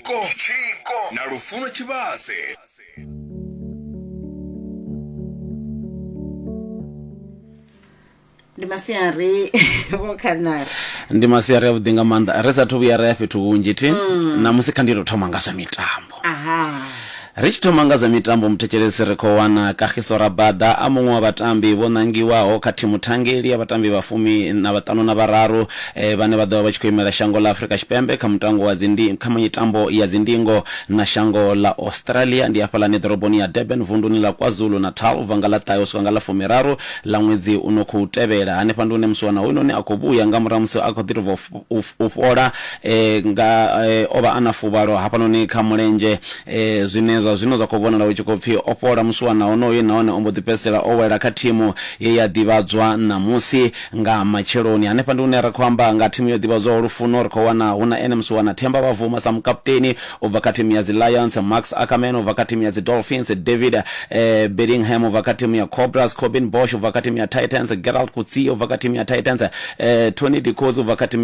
Tshiko na Lufuno Tshivhase. Ndi masiari vho khanari. Ndi masiari avhuḓi nga maanḓa ri sathu vhuya ra ya fhethu hunzhi thi ṋamusi kha ndi tou thoma nga zwa mitambo. Aha. Ri tshi thoma nga zwa mitambo muthetshelesi ri khou wana Kagiso Rabada a muṅwe wa vhatambi vho ṋangiwaho kha thimu thangeli ya vhatambi vha fumi na vhaṱanu na vhararu vhane vha ḓo vha vha tshi khou imela shango ḽa Afrika Tshipembe kha mutango wa dzindi kha mitambo ya dzindingo na shango ḽa Australia ndi hafhaḽani ḓoroboni ya Durban vunduni ḽa KwaZulu-Natal u bva nga ḽa ṱahe u swika nga ḽa fumiraru ḽa ṅwedzi u no khou tevhela. Hanefha ndi hune musiwana hoyunoni a khou vhuya nga murahu ha musi a khou ḓi tou bva u fhola nga o vha a na fuvhalo hafhanoni kha mulenzhe zwine zwa zwino zwa khou vhonala hu tshi khou pfi o fhola musiwana honoyu nahone o mbo ḓi fhedzisela o wela kha thimu ye ya ḓivhadzwa ṋamusi nga matsheloni. Hanefha ndi hune ra khou amba nga thimu yo ḓivhadzwaho Lufuno ri khou wana hu na ene musiwana Themba Bavuma sa mukaputeni u bva kha thimu ya dzi Lions, Max Ackermann u bva kha thimu ya dzi Dolphins, David Bedingham u bva kha thimu ya Cobras, Corbin Bosch u bva kha thimu ya Titans, Gerald Coetzee u bva kha thimu ya Titans, Tony de Koos u bva kha thimu.